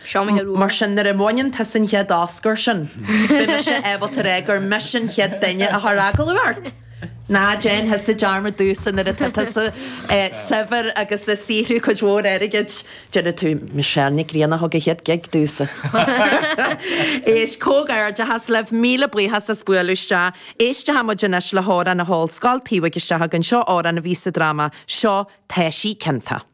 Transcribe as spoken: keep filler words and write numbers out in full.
Seo mo chéad uair. Mar sin nuair a bhaineann tusa an chéad Oscar sin, beidh mise ábalta a rá gur mise an chéad duine a chuir agallamh ort. Ná déan thusa dearmad domhsa nuair atá tusa saibhir agus ag saothrú cuid mhór airgid. Déarfaidh tú Michelle Nic Grianna a thug an chéad gig domhsa. Éist, comhghairdeachas libh, míle buíochas as bualadh isteach. Éistfidh muid anois le hamhrán na hOllscoile taobh isteach againn seo amhrán a bhí sa dráma seo Tá sí ciontach.